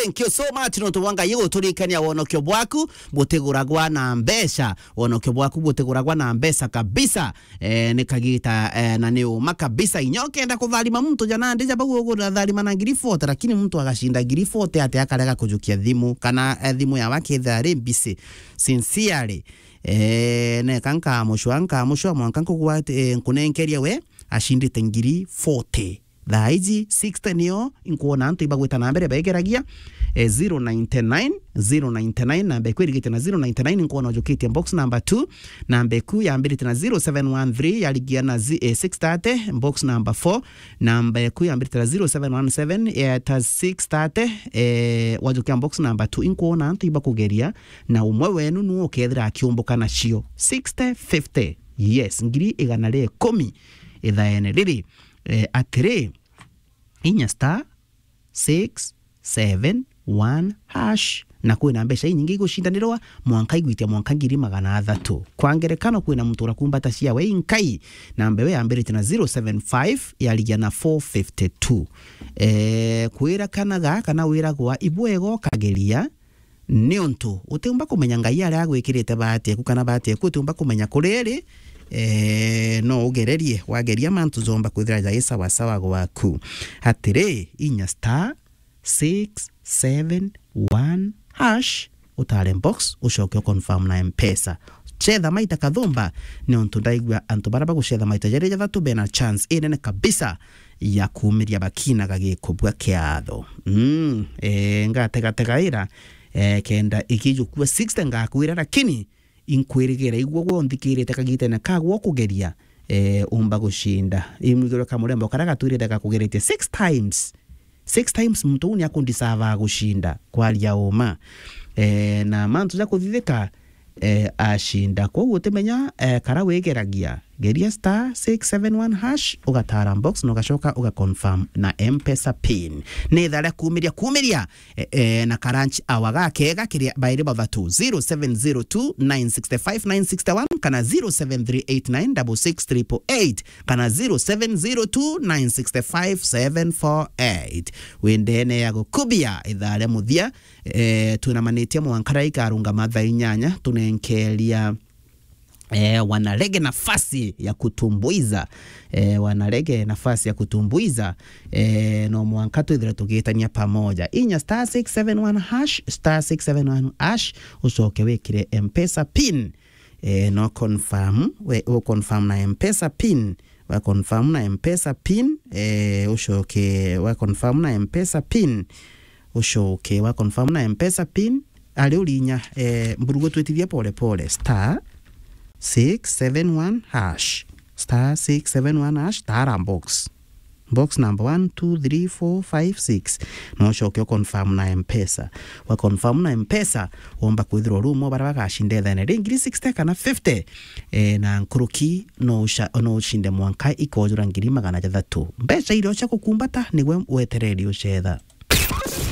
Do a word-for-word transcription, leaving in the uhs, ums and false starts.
Thank you so much nontu bwa Ngai guturikania wonokio bwaku butiguragwa na mbeca. Wonokio bwaku butiguragwa na mbeca kabisa. Eh, ni kagita, eh, na ni uma kabisa. Inya ukenda kutharima muntu ja nandi ja bau ugutharima na ngiri forty, lakini muntu agacinda ngiri forty ati akarega kujukia thimu, kana, eh, thimu yawe akethira ari busy. Sincerely. Eh, neka nkamucwa, nkamucwa, mwanka nkugwa ati, eh, nkunenkeria we, acindite ngiri forty. Thaa iji sixty nio inkwona antu ibagwita na mbere begeragia, eh, zero ninety nine, zero ninety nine, namba iku irigite na zero ninety nine, inkwona ujukitie box number two, namba iku yambirite na zero seven one three, yarigia na zi-, eh, six thirty, box number four, namba iku yambirite na zero seven one seven, yeta six thirty, eh, wajukia box number two, inkwona antu ibakugeria, na umwe wenu nu ukethira akiumbuka nacio. Sixty fifty, yes, ngiri igana ria ikumi ithaene riri. Eh, atiri, inya star six seven one hash. Na kwina mbeca inyingi igucindanirwa, mwanka igwitia mwanka ngiri magana athatu. Kwa ngerekano, kwina muntu urakumbata ciawe inkai, namba iwe yambirite na zero seven five, yarigia na four fifty two. Eh, kwira kana ga, kana wiragwa ibwega ukageria, niuntu utiumba kumenya Ngai aria agwikirite bahati eku kana bahati eku utiumba kumenya kuri iri. Eh, no ugererie, wageria mantu jomba kwithira jai sawasawa gwaku. Atiri, inya star six seven one hash, utare box, ucoke uconfirm na Mpesa. Cetha maita kathumba, niuntu ndaigua antu baria bagucetha maita jari jathatu bena chance inene kabisa ya kumiria bakina gagikubua kiatho. Mm, eh, ngategategaira, eh, kenda ikijukua sixty ngakwira, lakini inkwirigira igwo gwe unthikirite kagitene kagwo kugeria, eh, umba gucinda. Imwigirwe kamurembo karia gatwirite gakugeretie six times. Six times muntu uu ni akundisava gucinda, kwaria uma. Eh, na mantu ja kuthithika, eh, acinda. Kwou utimenya, eh, kara wigeragia. Geria star six seven one hash, ugatara box na ugacoka ugaconfirm na Mpesa pin. Ni ithaa ria kumiria, kumiria, eh, eh, na karanch awa gakega kiria bairi bathatu, zero seven zero two nine six five nine six one kana zero seven three eight nine double six triple eight kana zero seven zero two nine six five seven four eight. Windene ya gukubia ithaa ria muthia, eh, twinamanitie mwanka ria ikarungama thaa inyanya, tunenkeria, eh, wanarege nafasi ya kutumbuiza. Eh, wanarege nafasi ya kutumbuiza. Eh, no mwanka twithire tugitania pamoja. Inya star six seven one hash, star six seven one hash, ucoke wikire Mpesa pin. Eh, no confirm, we, u confirm na Mpesa pin. Wa confirm na Mpesa pin, eh, ucoke, wa confirm na Mpesa pin, ucoke, wa confirm na Mpesa pin, ari urinya, eh, mburugu twitithie pole pole, star six seven one hash, star six seven one hash, tara box. Box number one, two, three, four, five, six. No ucoke u confirm na Mpesa. Wa confirm na Mpesa, womba kwithirwa uri umwe baria bagacinda ithene ri ngiri sixty kana fifty. Eh, na nkuruki no uca-, no ucinde mwanka ikojura ngiri magana jathatu. Mbeca iria uca gukumbata, nigwe wetereri ucetha.